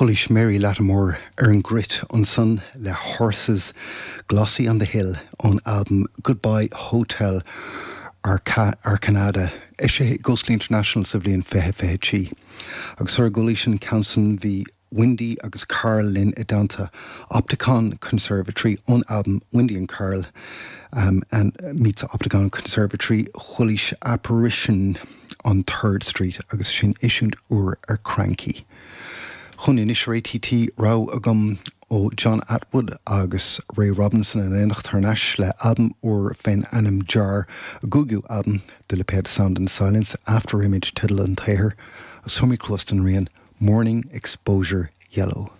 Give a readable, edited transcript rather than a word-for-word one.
Chualaís Mary Lattimore ar an gcruit ansan le Horses Glossy on the Hill ón albam Goodbye Hotel Arcanada, eisithe ag Ghostly International sa bhliain 2023. Agus sara gcualaís an ceann san bhí Windy agus Carl linn i dteannta Opticon Conservatory ón albam Windy and Carl and Meets Opticon Conservatory, chualaís Apparition on Third Street agus sin eisiúint úr ar Kranky. Chugainn anois ar ATT rogha agam ó John Attwood agus Ray Robinson in éineacht thar n-ais le albam úr fén ainm Jar, a gcúigiú albam de lipéad Sound and Silence, After Image teideal an tsaothair, agus tabharfaidh mé cluas don rian Morning Exposure Yellow.